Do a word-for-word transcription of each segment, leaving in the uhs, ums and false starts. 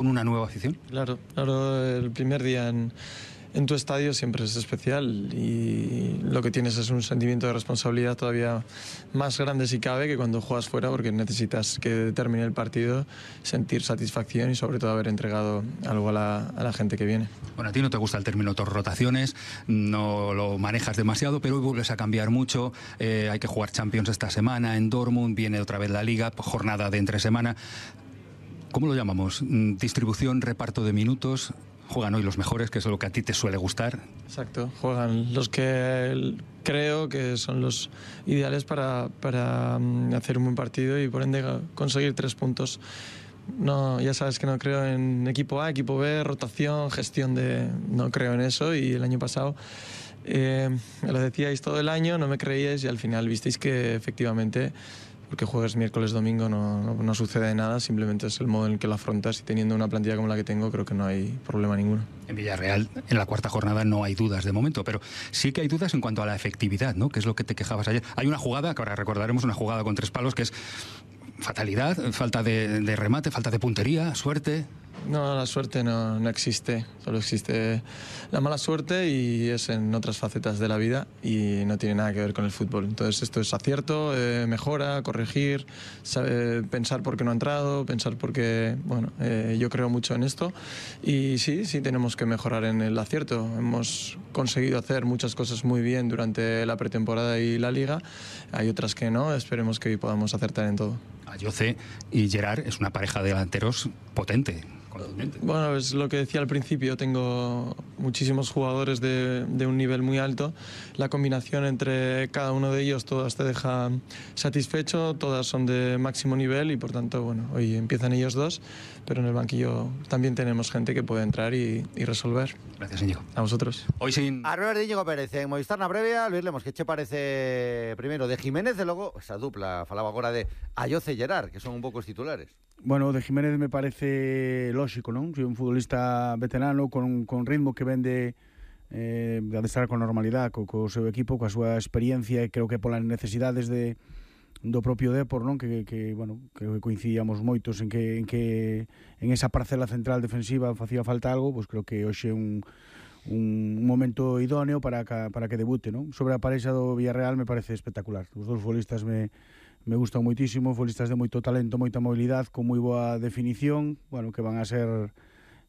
con una nueva afición? Claro, claro, el primer día en, en tu estadio siempre es especial y lo que tienes es un sentimiento de responsabilidad todavía más grande si cabe que cuando juegas fuera, porque necesitas que termine el partido, sentir satisfacción y sobre todo haber entregado algo a la, a la gente que viene. Bueno, a ti no te gusta el término rotaciones, no lo manejas demasiado, pero hoy vuelves a cambiar mucho, eh, hay que jugar Champions esta semana en Dortmund, viene otra vez la Liga, jornada de entre semana. ¿Cómo lo llamamos? ¿Distribución, reparto de minutos? ¿Juegan hoy los mejores, que es lo que a ti te suele gustar? Exacto, juegan los que creo que son los ideales para, para hacer un buen partido y por ende conseguir tres puntos. No, ya sabes que no creo en equipo A, equipo B, rotación, gestión de... No creo en eso y el año pasado eh, me lo decíais todo el año, no me creíais y al final visteis que efectivamente... Porque juegues miércoles, domingo, no, no, no sucede nada, simplemente es el modo en el que lo afrontas y teniendo una plantilla como la que tengo creo que no hay problema ninguno. En Villarreal, en la cuarta jornada no hay dudas de momento, pero sí que hay dudas en cuanto a la efectividad, ¿no? Que es lo que te quejabas ayer. Hay una jugada, que ahora recordaremos, una jugada con tres palos que es fatalidad, falta de, de remate, falta de puntería, suerte... No, la suerte no, no existe, solo existe la mala suerte y es en otras facetas de la vida y no tiene nada que ver con el fútbol. Entonces esto es acierto, eh, mejora, corregir, sabe, pensar por qué no ha entrado, pensar por qué... Bueno, eh, yo creo mucho en esto y sí, sí tenemos que mejorar en el acierto. Hemos conseguido hacer muchas cosas muy bien durante la pretemporada y la Liga, hay otras que no, esperemos que hoy podamos acertar en todo. Ayoce y Gerard es una pareja de delanteros potente. Bueno, es lo que decía al principio, tengo muchísimos jugadores de, de un nivel muy alto, la combinación entre cada uno de ellos, todas te deja satisfecho, todas son de máximo nivel y por tanto, bueno, hoy empiezan ellos dos, pero en el banquillo también tenemos gente que puede entrar y, y resolver. Gracias, Íñigo. A vosotros. Hoy sin... A Robert Íñigo Pérez, en Movistar na previa, Luis Lemos, que che parece primeiro de Jiménez e logo esa dupla, falaba agora de Ayoce e Gerard, que son un pouco os titulares. Bueno, de Jiménez me parece lógico, non? Si un futbolista veterano con, con ritmo que vende eh, de estar con normalidade co, co seu equipo, coa súa experiencia e creo que polas necesidades de, do propio Depor, non? Que, que, bueno, que coincidíamos moitos en que, en que en esa parcela central defensiva facía falta algo, pois creo que hoxe é un, un momento idóneo para que, para que debute, non? Sobre a parexa do Villarreal me parece espectacular. Os dous futbolistas me me gustan moitísimo, futbolistas de moito talento, moita mobilidade, con moi boa definición, bueno, que van a ser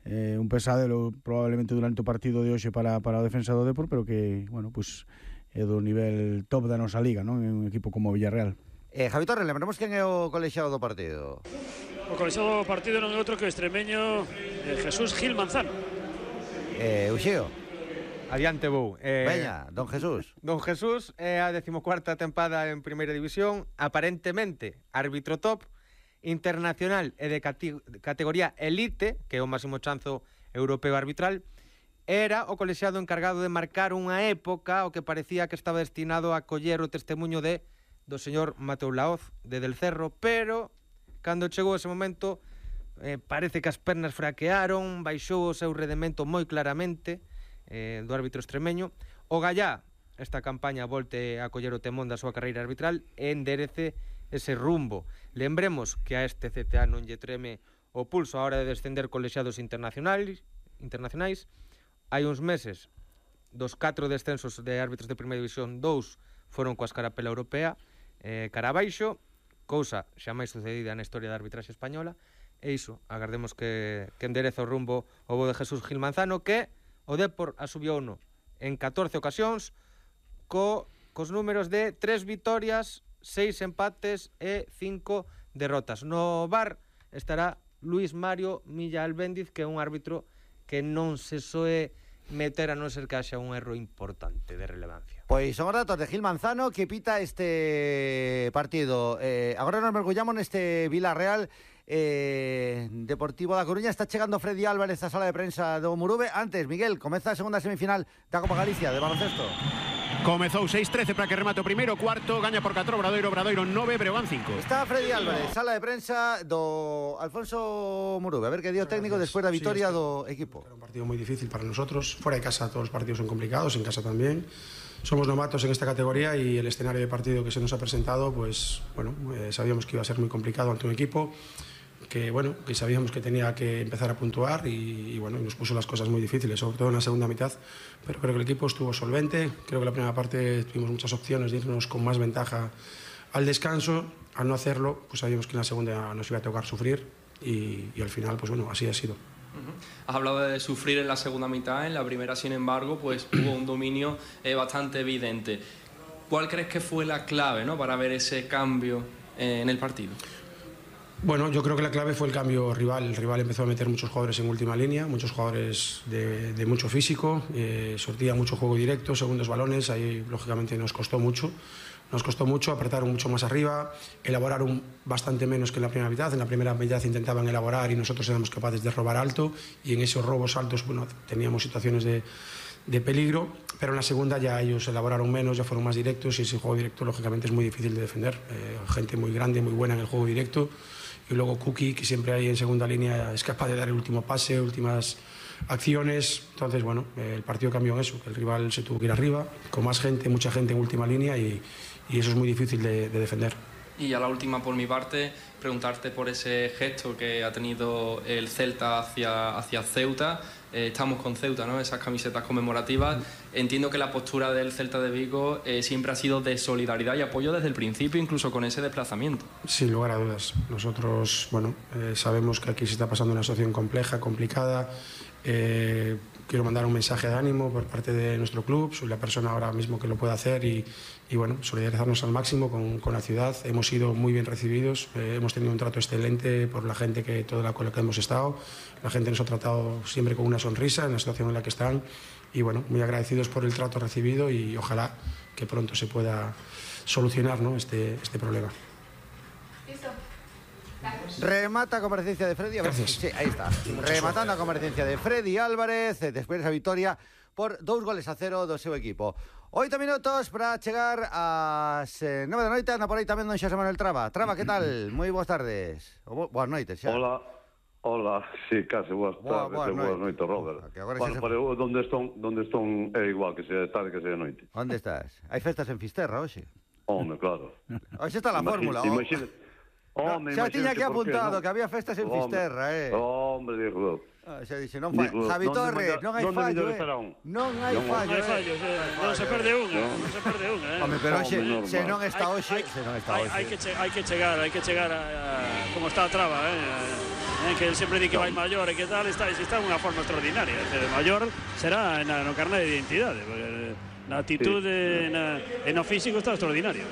eh, un pesadelo probablemente durante o partido de hoxe para, para o defensa do Depor, pero que, bueno, pues é do nivel top da nosa liga, non? En un equipo como Villarreal. Eh, Javi Torres, lembramos quen é o colexiado do partido. O colexiado do partido non é outro que o extremeño eh, Jesús Gil Manzano. Eh, Uxeo. Adiante vou. Eh, Veña, don Jesús. Don Jesús é a decimocuarta tempada en Primeira División, aparentemente árbitro top, internacional e de cate categoría elite, que é o máximo chanzo europeo arbitral, era o colexiado encargado de marcar unha época o que parecía que estaba destinado a coller o testemunho de do señor Mateu Laoz de Del Cerro, pero cando chegou ese momento eh, parece que as pernas fraquearon, baixou o seu rendemento moi claramente, Eh, do árbitro extremeño. O Gallá, esta campaña volte a coller o temón da súa carreira arbitral e enderece ese rumbo. Lembremos que a este C T A non lle treme o pulso a hora de descender colexiados internacionais, internacionais. Hai uns meses, dos catro descensos de árbitros de Primeira División, dous foron coa escarapela europea, eh, cara abaixo, cousa xa máis sucedida na historia da arbitraxe española, e iso, agardemos que, que endereza o rumbo o bo de Jesús Gil Manzano, que o Depor asubiouno en catorce ocasións co, cos números de tres vitorias, seis empates e cinco derrotas. No V A R estará Luis Mario Milla Albéndiz, que é un árbitro que non se soe meter a non ser que haxa un erro importante de relevancia. Pois son os datos de Gil Manzano que pita este partido. Eh, agora nos mergullamos neste Villarreal eh, Deportivo da Coruña. Está chegando Freddy Álvarez a sala de prensa do Murube. Antes, Miguel, comeza a segunda semifinal da Copa Galicia de baloncesto. Comezou seis trece para que remate o primeiro cuarto, gaña por catro Obradoiro, Obradoiro nove, Breogán cinco. Está Freddy Álvarez, sala de prensa do Alfonso Murube. A ver que dio técnico despois da vitoria sí, do equipo. Era un partido moi difícil para nosotros. Fuera de casa todos os partidos son complicados, en casa también. Somos novatos en esta categoría y el escenario de partido que se nos ha presentado, pues bueno, eh, sabíamos que iba a ser muy complicado ante un equipo que bueno, que sabíamos que tenía que empezar a puntuar y, y bueno, nos puso las cosas muy difíciles, sobre todo en la segunda mitad, pero creo que el equipo estuvo solvente, creo que la primera parte tuvimos muchas opciones de irnos con más ventaja al descanso, al no hacerlo, pues sabíamos que en la segunda nos iba a tocar sufrir y, y al final, pues bueno, así ha sido. Uh-huh. Has hablado de sufrir en la segunda mitad, en la primera, sin embargo, pues hubo un dominio eh, bastante evidente. ¿Cuál crees que fue la clave, ¿no?, para ver ese cambio eh, en el partido? Bueno, yo creo que la clave fue el cambio rival. El rival empezó a meter muchos jugadores en última línea, muchos jugadores de, de mucho físico, eh, sortía mucho juego directo, segundos balones, ahí lógicamente nos costó mucho. Nos costó mucho, apretaron mucho más arriba, elaboraron bastante menos que en la primera mitad. En la primera mitad intentaban elaborar y nosotros éramos capaces de robar alto y en esos robos altos, bueno, teníamos situaciones de, de peligro, pero en la segunda ya ellos elaboraron menos, ya fueron más directos y ese juego directo lógicamente es muy difícil de defender. Eh, gente muy grande, muy buena en el juego directo. Y luego Kuki, que siempre hay en segunda línea, es capaz de dar el último pase, últimas acciones. Entonces, bueno, el partido cambió en eso, que el rival se tuvo que ir arriba, con más gente, mucha gente en última línea y, y eso es muy difícil de, de defender. Y ya la última por mi parte, preguntarte por ese gesto que ha tenido el Celta hacia, hacia Ceuta. Eh, estamos con Ceuta, ¿no?, esas camisetas conmemorativas. Entiendo que la postura del Celta de Vigo eh, siempre ha sido de solidaridad y apoyo desde el principio, incluso con ese desplazamiento. Sin lugar a dudas. Nosotros, bueno, eh, sabemos que aquí se está pasando una situación compleja, complicada. Eh, quiero mandar un mensaje de ánimo por parte de nuestro club. Soy la persona ahora mismo que lo puede hacer y, y bueno, solidarizarnos al máximo con, con la ciudad. Hemos sido muy bien recibidos, eh, hemos tenido un trato excelente por la gente que toda la con la que hemos estado. La gente nos ha tratado siempre con una sonrisa en la situación en la que están y bueno, muy agradecidos por el trato recibido y ojalá que pronto se pueda solucionar, ¿no?, este, este problema. Remata a comparecencia de Freddy. A ver, sí, ahí está. Rematando a comparecencia de Freddy Álvarez después de esa victoria por dos goles a cero do seu equipo. Oito minutos para chegar ás eh, nove da noite. Anda por aí tamén don Xosé Manuel Traba. Traba, que tal? Moi boas tardes. O bo, boas noites xa. Hola. Hola, sí, case boas tardes, boa, boa boas noites, Robert. Bueno, se... para eu, donde estón, donde estón é igual que sea tarde que sea noite. Onde estás? Hai festas en Fisterra hoxe? Hombre, claro. Hoxe está a fórmula. Imagina, oh, xa tiña que apuntado que, no? que había festas en hombre, Fisterra, eh. Hombre, digo. Ah, xa dixe, non fai. Javi Torres, non hai fallo, eh. Non hai fallo, non hai fallo, non se perde unha, non se perde unha, eh. Home, pero hoxe, se non está hoxe, se non está hoxe. Hai que hai que chegar, hai que chegar a como está a Traba, eh. Eh, que sempre di que vai maior e que tal, está, está en unha forma extraordinaria. O maior será na, no carné de identidade, porque na atitude, sí. na, e no físico está extraordinario.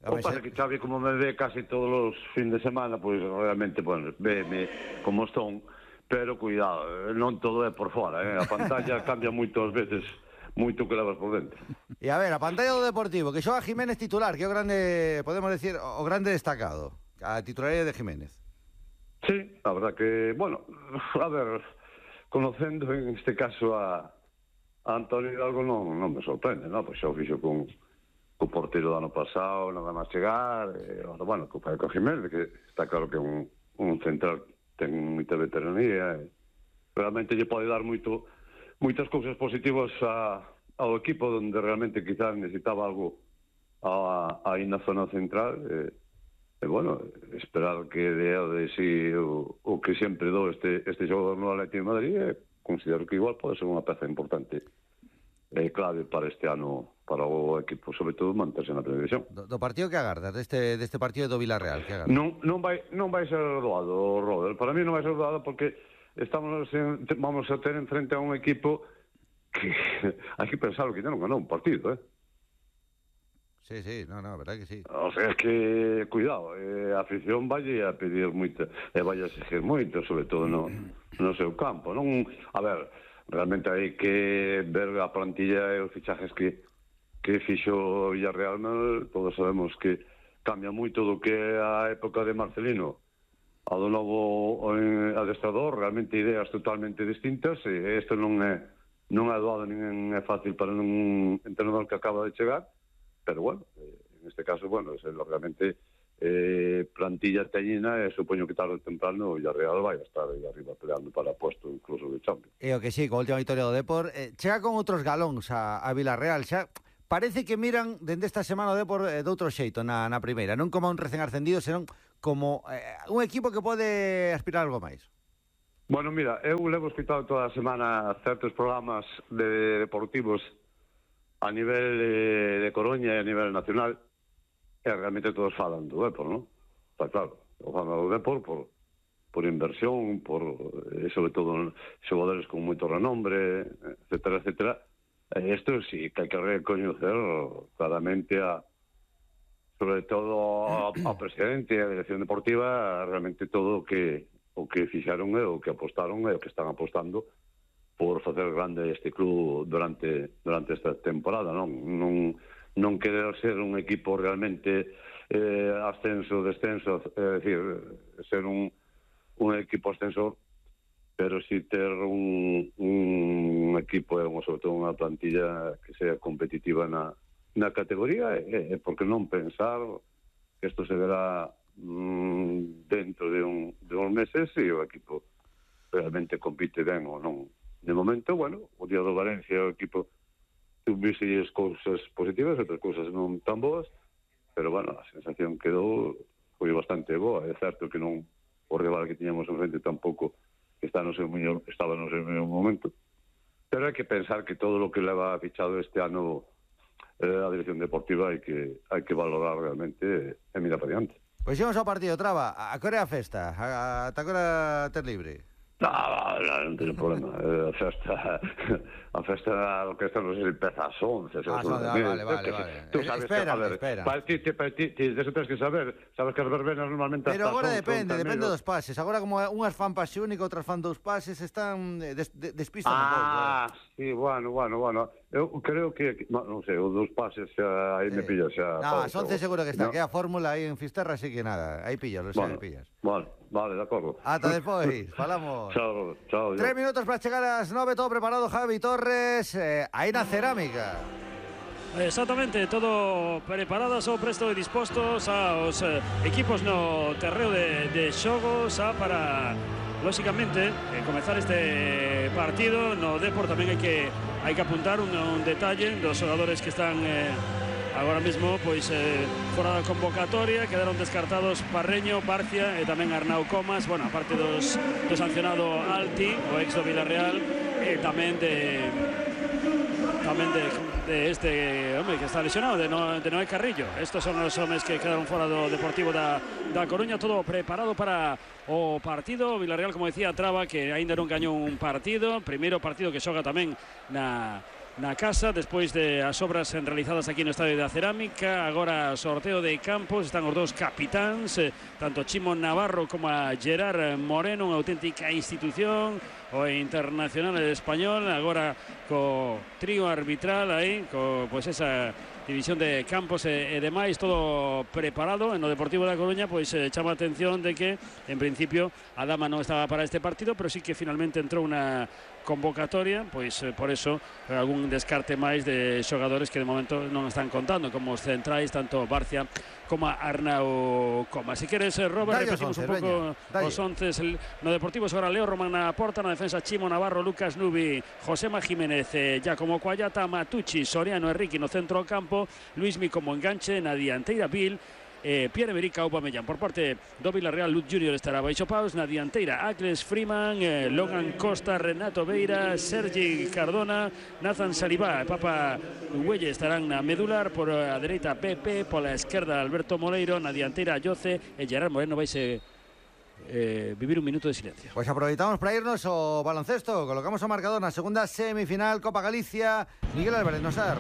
O que pasa que Xavi, como me ve casi todos os fin de semana, pois pues, realmente, bueno, veme como estón, pero cuidado, non todo é por fora, eh? A pantalla cambia moitas veces, moito que levas por dentro. E a ver, a pantalla do Deportivo, que xoga Jiménez titular, que é o grande, podemos decir, o grande destacado, a titularidade de Jiménez. Sí, a verdad que, bueno, a ver, conocendo en este caso a, a Antonio Hidalgo non, non me sorprende, non? Pois xa o fixo con o portero do ano pasado, nada máis chegar, e, bueno, co Paco Jiménez, que está claro que un, un central ten moita veteranía, e realmente lle pode dar moito, moitas cousas positivas a, ao equipo, onde realmente quizás necesitaba algo a, aí na zona central, e, E, bueno, esperar que dea de si o, o que sempre dou este, este xogador no Atlético de Madrid, e considero que igual pode ser unha peza importante e clave para este ano, para o equipo, sobre todo, manterse na primeira división. Do, do partido que agardas, deste, deste partido do Villarreal, que agardas? Non, non, vai, non vai ser doado, Robert. Para mí non vai ser doado porque estamos en, vamos a ter en frente a un equipo que hai que pensar que non ganou un partido, eh? Sí, sí, no, no, verdad que sí. O sea, es que, cuidado, eh, a afición vai a pedir moito, e vai a exigir moito, sobre todo no, no seu campo, non? A ver, realmente hai que ver a plantilla e os fichajes que, que fixo Villarreal, todos sabemos que cambia moito do que é a época de Marcelino ao do novo eh, adestrador, realmente ideas totalmente distintas, e isto non é, non é doado, nin é fácil para un entrenador que acaba de chegar. Pero bueno, en este caso, bueno, es realmente eh, plantilla teñina e supoño que tarde ou temprano o Villarreal vai a estar aí arriba peleando para puesto incluso de Champions. E o que sí, con a última victoria do Depor, eh, chega con outros galóns a, a Villarreal, xa parece que miran dende esta semana o Depor eh, de outro xeito na, na primeira, non como un recén ascendido, senón como eh, un equipo que pode aspirar algo máis. Bueno, mira, eu levo escutado toda a semana certos programas de deportivos a nivel de, de Coruña e a nivel nacional, e realmente todos falan do Depor, non? Está claro, o falan do Depor por, por inversión, por, eh, sobre todo, xogadores con moito renombre, etcétera, etcétera. E isto sí que hai que recoñecer claramente a, sobre todo a, a presidente e a dirección deportiva, realmente todo o que, o que fixaron e o que apostaron e o que están apostando por facer grande este club durante durante esta temporada, non? Non, non querer ser un equipo realmente eh, ascenso, descenso, é dicir, ser un, un equipo ascensor, pero si ter un, un equipo, sobre todo unha plantilla que sea competitiva na, na categoría, e, e por que non pensar que isto se verá mm, dentro de, un, de uns meses e o equipo realmente compite ben ou non. De momento, bueno, o día do Valencia o equipo tuvise as cousas positivas, outras cousas non tan boas, pero, bueno, a sensación quedou foi bastante boa. É certo que non o rival que tiñamos en frente tampouco está no seu mellor, estaba no seu mellor momento, pero hai que pensar que todo o que leva fichado este ano eh, a dirección deportiva hai que hai que valorar realmente e mirar para diante. Pois xemos ao partido, Traba. A que hora é a festa? Ata que hora ter libre? No, no, non teño problema. A festa, a festa, a orquesta non sei se empeza ás once. Ah, son, ah, vale, vale, vale. Tú sabes espera, que, a ver, espera. Para ti, ti, ti, ti, eso tens que saber. Sabes que as verbenas normalmente... Pero agora depende, depende dos pases. Agora como unhas fan pase único, outras fan dous pases, están des, des, despistan un pouco. Ah, sí, bueno, bueno, bueno. Eu creo que, no, non sei, os dous pases xa, aí me pillas xa... No, as once seguro que está, que a fórmula aí en Fisterra sí que nada. Aí pillas, lo sei, pillas. Vale, vale, de acordo. Ata despois, falamos. Chao, chao. Tres minutos para chegar ás nove, todo preparado, Javi Torres, eh, aí na cerámica. Exactamente, todo preparado, só presto e dispostos aos eh, equipos no terreo de, de xogo, xa para, lóxicamente, eh, comezar este partido. No Depor tamén hai que hai que apuntar un, un detalle dos xogadores que están eh, agora mesmo pois eh, fora da convocatoria. Quedaron descartados Parreño, Barcia e tamén Arnau Comas, bueno, aparte dos, do sancionado Alti, o ex do Villarreal, e tamén de tamén de, de este home que está lesionado, de, no, de Noé Carrillo. Estos son os homes que quedaron fora do Deportivo da, da Coruña. Todo preparado para o partido. Villarreal, como decía Traba, que aínda non gañou un partido, primeiro partido que xoga tamén na na casa, despois de as obras realizadas aquí no Estadio da Cerámica. Agora sorteo de campos, están os dous capitáns, eh, tanto Chimo Navarro como a Gerard Moreno, unha auténtica institución, o internacional español, agora co trío arbitral aí, co pois esa división de campos e, e demais, todo preparado. En o Deportivo da Coruña pois eh, chama a atención de que en principio a dama non estaba para este partido, pero sí que finalmente entrou unha convocatoria, pois eh, por eso eh, algún descarte máis de xogadores que de momento non están contando, como os centrais, tanto Barcia como Arnau Comas. Si queres, eh, Robert, Dalle repetimos once, un pouco veña, os onces. No Deportivo agora Leo Román na porta, na defensa Chimo Navarro, Lucas Nubi, Josema Jiménez, eh, Giacomo Cuayata, Matucci, Soriano, Enrique no centro do campo, Luismi como enganche, na dianteira Bill, Eh, Pierre-Emerick Aubameyang. Por parte do Villarreal, Luz Junior estará baixo paus, na dianteira Ácles Freeman, eh, Logan Costa, Renato Beira, Sergi Cardona, Nathan Salibá e Papa Huelle estarán na medular. Por a dereita Pepe, pola esquerda Alberto Moleiro, na dianteira Yoce e Gerard Moreno. Vaise eh, vivir un minuto de silencio. Pois aproveitamos para irnos ao baloncesto. Colocamos o marcador na segunda semifinal Copa Galicia. Miguel Álvarez Nosar.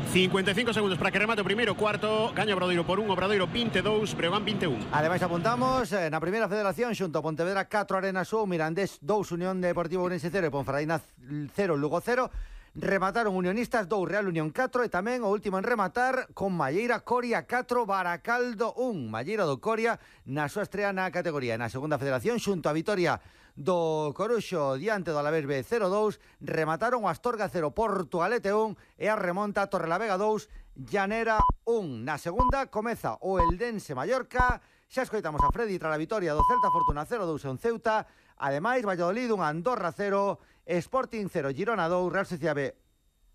cincuenta e cinco segundos para que remate o primeiro cuarto. Gaña Obradoiro por un, Obradoiro vinte e dous, Breogán vinte e un. Ademais apuntamos eh, na primeira federación xunto a Pontevedra catro, Arenas un, Mirandés dous, Unión Deportivo Ourense cero e Ponferradina cero, Lugo cero. Remataron Unionistas dous, Real Unión catro e tamén o último en rematar con Malleira Coria catro, Baracaldo un. Malleira do Coria na súa estrea na categoría. Na segunda federación xunto a Vitoria do Coruxo diante do Alavés B cero dous, remataron o Astorga cero, Portugalete un e a remonta Torrelavega dous, Llanera un. Na segunda comeza o Eldense Mallorca. Xa escoitamos a Freddy tras a vitoria do Celta Fortuna cero dous en Ceuta. Ademais, Valladolid un, Andorra cero, Sporting cero, Girona dous, Real Sociedad B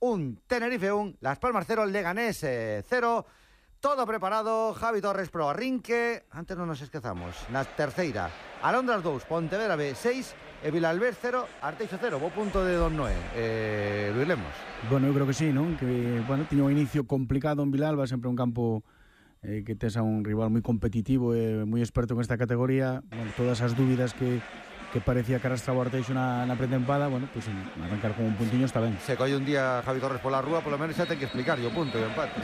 un, Tenerife un, Las Palmas cero, Leganés cero, todo preparado. Javi Torres pro arrinque. Antes non nos esquezamos. Na terceira, Alondras dous, Pontevedra B seis e Vilalbés cero, Arteixo cero. Bo punto de Don Noé. Eh, Luis Lemos. Bueno, eu creo que sí, non? Que, bueno, tiña un inicio complicado en Vilalba, sempre un campo eh, que tes a un rival moi competitivo e moi experto en esta categoría. Bueno, todas as dúbidas que que parecía que arrastraba o Arteixo na, na pretempada, bueno, pues arrancar con un puntiño está ben. Se colle un día Javi Torres pola rúa, polo menos xa ten que explicar o punto e o empate.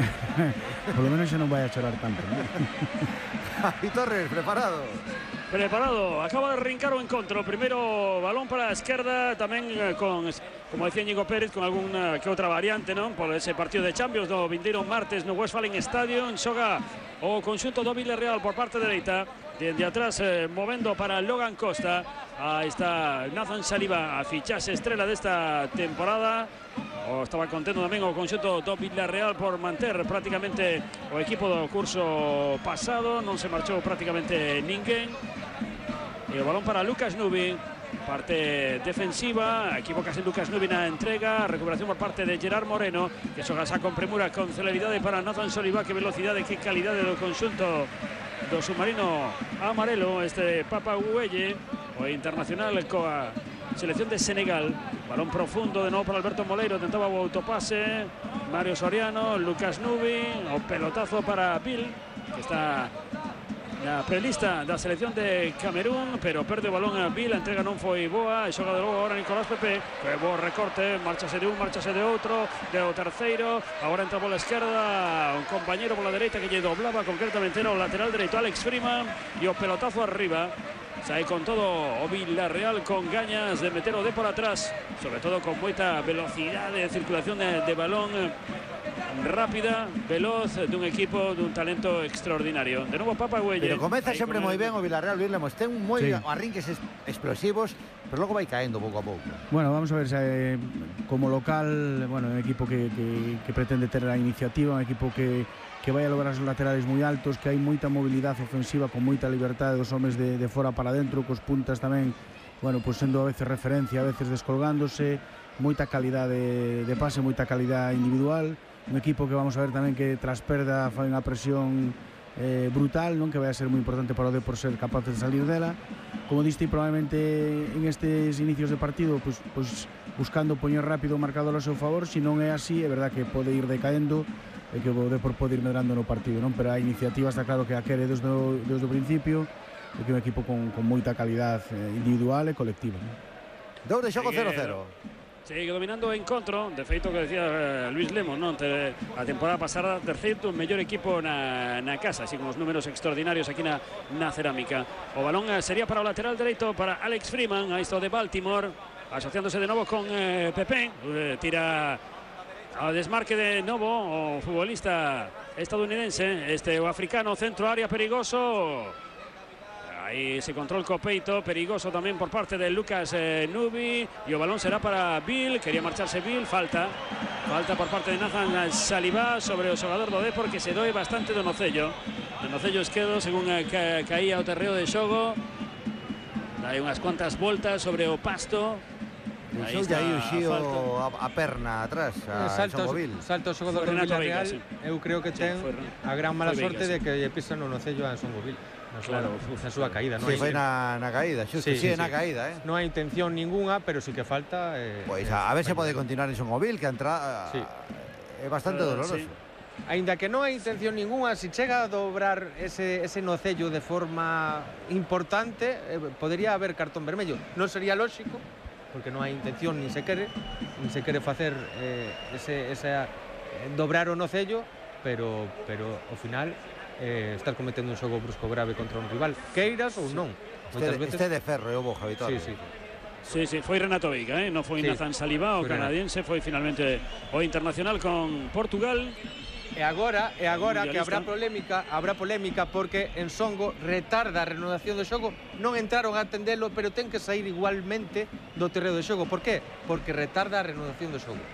Polo menos xa non vai a chorar tanto, ¿no? Javi Torres, preparado. Preparado, acaba de arrancar o encontro. Primeiro balón para a esquerda, tamén con, como decía Íñigo Pérez, con algunha que outra variante, non? Por ese partido de Champions do vindeiro martes no Westfalen Stadium. Xoga o conxunto do Villarreal por parte dereita. Desde atrás, eh, movendo para Logan Costa. Aí está Nathan Saliba, a fichaxe estrela desta temporada. O estaba contento tamén o conxunto do Villarreal por manter prácticamente o equipo do curso pasado. Non se marchou prácticamente ninguén. E o balón para Lucas Nubi, parte defensiva, equivocase Lucas Nubi na entrega, recuperación por parte de Gerard Moreno, que xoga xa con premura, con celeridade para Nathan Saliba. Que velocidade, que calidade do conxunto do submarino amarelo, este Papa Güelle, o internacional coa selección de Senegal. Balón profundo de novo para Alberto Moleiro, tentaba o autopase Mario Soriano, Lucas Nubi, o pelotazo para Bill, que está na prelista da selección de Camerún, pero perde o balón a Bill, a entrega non foi boa, e xoga de novo agora Nicolás Pepe, que bo recorte, marchase de un, marchase de outro, de o terceiro, agora entra pola esquerda, un compañero pola dereita que lle doblaba concretamente no lateral dereito Alex Freeman, e o pelotazo arriba. Sai con todo o Villarreal, con gañas de meter o de por atrás, sobre todo con moita velocidade de circulación de, de balón rápida, veloz, dun equipo dun talento extraordinario. De novo Papa Güelle. Pero comeza sempre moi ben o Villarreal, Luis Lemos. Ten moi sí. arrinques explosivos, pero logo vai caendo pouco a pouco. Bueno, vamos a ver, eh, como local, bueno, un equipo que, que, que pretende ter a iniciativa, un equipo que que vai a lograr os laterales moi altos, que hai moita mobilidade ofensiva con moita libertade dos homes de, de fora para dentro, cos puntas tamén, bueno, pues sendo a veces referencia, a veces descolgándose, moita calidade de pase, moita calidade individual, un equipo que vamos a ver tamén que tras perda fai unha presión eh, brutal, non, que vai a ser moi importante para o D por ser capaz de salir dela. Como diste, probablemente en estes inicios de partido, pues, pues buscando poñer rápido o marcador ao seu favor. Se non é así, é verdad que pode ir decaendo e que o Depor pode ir medrando no partido, non? Pero a iniciativa está claro que a quere desde o, desde o principio, e que é un equipo con, con moita calidad individual e colectiva, non? Dou de xogo cero cero. Sigue dominando o encontro, de feito que decía Luis Lemos, non? A temporada pasada terceiro mellor equipo na, na casa, así con os números extraordinarios aquí na, na cerámica. O balón sería para o lateral dereito para Alex Freeman, a isto de Baltimore, asociándose de novo con eh, Pepe, eh, tira ao desmarque de novo o futbolista estadounidense, este o africano, centro área perigoso. Aí se control co peito, perigoso tamén por parte de Lucas eh, Nubi, e o balón será para Bill, quería marcharse Bill, falta falta por parte de Nathan Saliba sobre o xogador do Depor, que se doe bastante do nocello do nocello esquerdo, según eh, ca, caía o terreo de xogo. Hai unhas cuantas voltas sobre o pasto. Aí está aí o xío a, a perna atrás, a salto, salto o xogador do Villarreal. Eu creo que ten a gran mala sorte de que lle pisan no nocello a Songovil. Claro, na súa caída, non? Si, foi na, na caída, xusto, si, sí, sí, na sí. caída, eh? Non hai intención ninguna, pero sí que falta... Eh, pois a, a ver se pode continuar en Songovil, que a entrada sí. é bastante uh, doloroso. Sí. Ainda que non hai intención ninguna, se si chega a dobrar ese, ese nocello de forma importante, eh, podería haber cartón vermello. Non sería lóxico, porque non hai intención, nin se quere, nin se quere facer eh, ese, ese eh, dobrar o nocello, pero, pero ao final... Eh, estar cometendo un xogo brusco grave contra un rival, queiras ou non. Este, veces... este de ferro, eu vou, Javi Torres. Sí, sí. Sí, sí, foi Renato Veiga, eh? Non foi sí. Nathan Saliba, o canadiense, foi finalmente o internacional con Portugal. E agora, e agora que habrá polémica, habrá polémica porque en Songo retarda a renovación do xogo, non entraron a atendelo, pero ten que sair igualmente do terreo do xogo. Por qué? Porque retarda a renovación do xogo.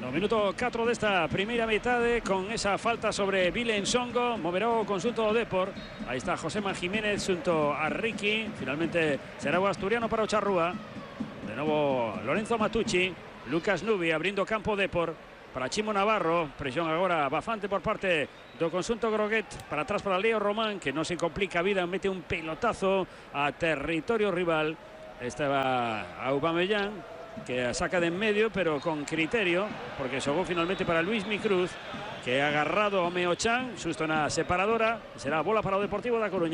No minuto catro desta primeira metade, con esa falta sobre Vile en Songo, moverá o consulto do Depor. Aí está Josema Jiménez junto a Ricky. Finalmente será o asturiano para o Charrúa. De novo Lorenzo Matucci, Lucas Nubi abrindo campo Depor. para Chimo Navarro, presión agora bastante por parte do conxunto groguet, para atrás para Leo Román, que non se complica a vida, mete un pelotazo a territorio rival. Estaba Aubameyang, que saca de en medio, pero con criterio, porque xogou finalmente para Luis Micruz, que ha agarrado a Meochan, xusto na separadora. Será bola para o Deportivo da Coruña.